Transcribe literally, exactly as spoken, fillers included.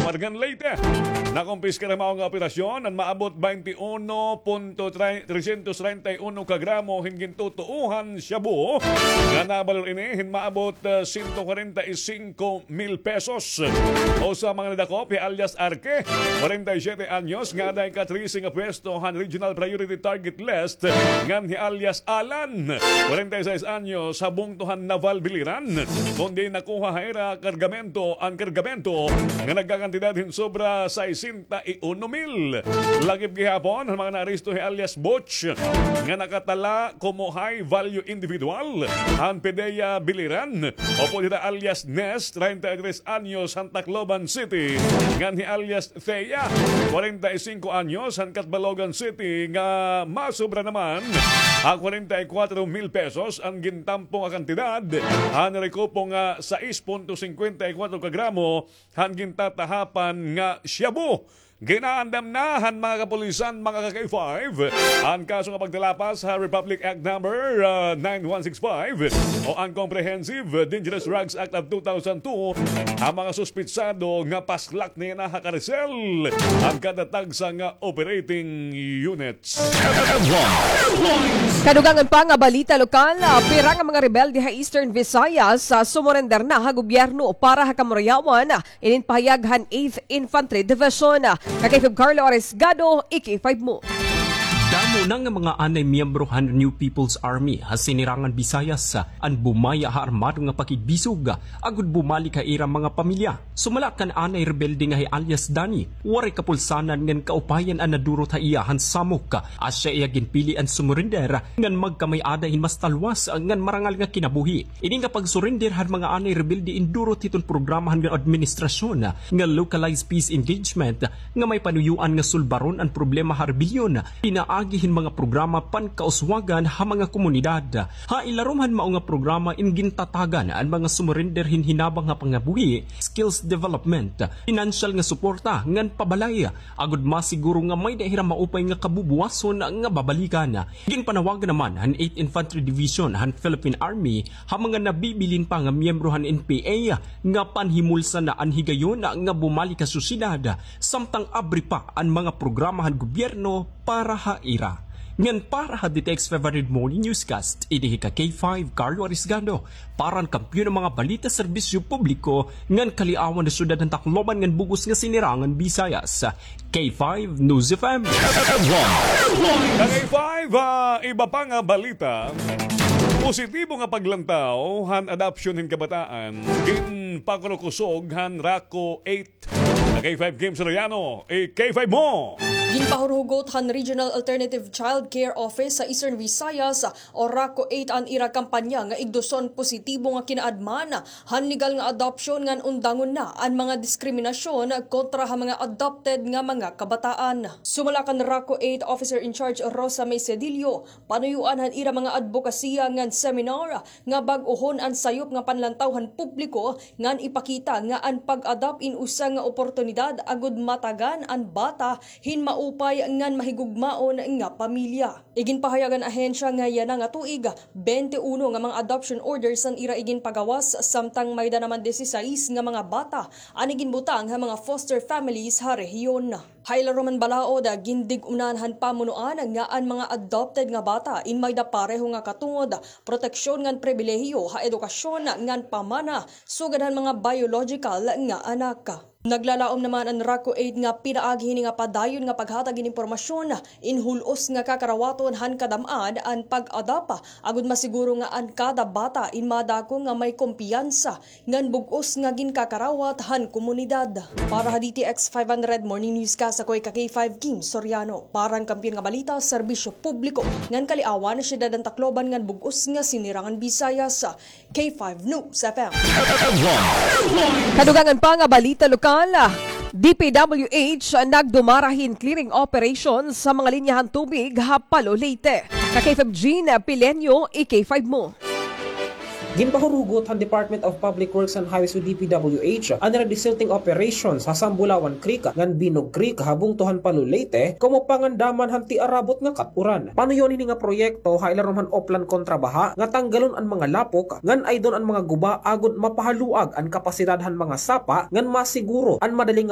Margan Leyte. Nakumpiskar han mao nga operasyon an maabot twenty-one punto trescientos treinta y uno ka gramo hin gintutuohan shabu nga nabalor ini hin maabot, ah, siyento kwarenta y singko mil pesos. Usa ha mga nadakop hi alias Arke, kwarenta y siyete anyos, nga aada ha ika-trese nga pwesto han Regional Priority Target List, ngan hi alias Alan, kwarenta y seis anyos, ha bungto han Naval Biliran, kon diin nakuha ha ira kargamento an kargamento nga nagkakantidad hin sobra sesenta y uno mil. Lakip gihapon han mga naaresto hi alias Butch, nga nakatala komo high value individual han PDEA Biliran, upod hira alias Nes, treinta y tres anyos, han Tacloban City, ngan hi alias Thea, kwarenta y singko anyos, han Catbalogan City, nga masobra naman ha kwarenta y kwatro mil pesos an gintampo nga kantidad han rekupo nga sais punto singkwenta y kwatro ka gramo han gintatahapan nga shabu. Ginaandam na han mga kapulisan, mga ka-K five, an kaso nga pagtalapas ha Republic Act Number, ah, nine one six five o an Comprehensive Dangerous Drugs Act of two thousand two, ha mga suspitsado nga paslak nira ha karisel an kada tagsa nga operating units. Kadugangan pa nga balita lokal, ah, pira nga mga rebelde ha Eastern Visayas, ah, sumurender na ha gobyerno para ha kamurayawan. Inin pahayag han Eighth Infantry Division. Ka-K five Carlo Arisgado, i-K five mo. Damo na nga mga anay miyembro han New People's Army ha Sinirangan Visayas an bumaya ha armado nga pakigbisog agod bumalik ha ira mga pamilya. Sumala kan anay rebelde nga hi alias Danny, waray kapulsanan ngan kaupayan an nadurot ha iya han samok. Asya iya ginpili an sumurender ngan magkamay-ada hin mas talwas ngan marangal nga kinabuhi. Ini nga pagsurrender han mga anay rebelde indurot hiton programa han administrasyon nga Localized Peace Engagement nga may panuyoan nga sulbaron an problema ha rebelyon pinaagi hin mga programa pankauswagan ha mga komunidad. Ha ilarom han mao nga programa in gintatagan an mga sumurrender hin hinabang ha pangabuhi, skills development, pinansyal nga suporta ngan pabalay agod masiguro nga may-ada hira maupay nga kabubuwason nga babalikan. Ginpanawagan naman han Eighth Infantry Division han Philippine Army ha mga nabibilin pa nga miyembro han N P A nga panhimulsan na an higayon nga bumalik ha sosyedad samtang abri pa an mga programa han gobyerno para ha ira. Ngan para ha D T X five hundred Morning Newscast, ini hi ka-K five Carlo Arisgado, para han Kampiyon nga mga Balita, Serbisyo Publiko ngan Kaliawan ha Syudad han Tacloban ngan bug-os nga Sinirangan Visayas. K five News F M. Ka-K five, ah, iba pa nga balita. Positibo nga paglantaw han adoption hin kabataan ginpakurukusog han RACO eight. Ka-K five Kim Soriano, i-K five mo. Ginpahurhugot han Regional Alternative Child Care Office sa Eastern Visayas o RACO eight an ira kampanya nga igduson positibo nga kinaadman han legal nga adoption ngan undangon na an mga diskriminasyon kontra ha mga adopted nga mga kabataan. Sumala kan RACO eight Officer in Charge Rosa May Cedillo, panuyoan han ira mga adbokasiya ngan seminar nga bag-ohon an sayop nga panlantaw han publiko ngan ipakita nga an pag-adopt in usa nga oportunidad agod matagan an bata hin maupay ngan mahigugmaon nga pamilya. Iginpahayag han ahensya nga yana nga tuig, bente uno nga mga adoption orders an ira iginpagawas, samtang may-ada naman disisais nga mga bata an iginbutang ha mga foster families ha rehiyon. Ha ilarom han balaod, gindig-unan han pamunuan nga an mga adopted nga bata in may-ada pareho nga katungod, proteksyon ngan pribilehiyo ha edukasyon ngan pamana sugad han mga biological nga anak. Naglalaom naman an RACO eight nga pinaagi hini nga padayon nga paghatag hin impormasyon in hul-os nga kakarawaton han kadam-an an pag-adopt, agod masiguro nga an kada bata in madako nga may kumpiyansa ngan bug-os nga ginkakarawat han komunidad. Para ha D T X five hundred Morning Newscast, ako hi ka-K five Kim Soriano. Para han Kampiyon nga Balita, Serbisyo Publiko ngan Kaliawan, Syudad han Tacloban ngan bug-os nga Sinirangan Visayas, K five News F M. Kadugangan pa nga balita lokal, D P W H nagdumara hin clearing operation sa mga linya han tubig ha Palo, Leyte. Ka-K five Jean Pileño, i-K five mo. Ginpahurugot han Department of Public Works and Highways o D P W H an ira desilting operations ha Sambulawan Creek ngan Binog Creek ha bungto han Palo, Leyte, komo pangandaman han tiarabot nga kat-uran. Panuyon hini nga proyekto ha ilarom han Oplan Kontra Baha nga tanggalon an mga lapok ngan aydon an mga guba agod mapahaluag an kapasidad han mga sapa ngan masiguro an madaling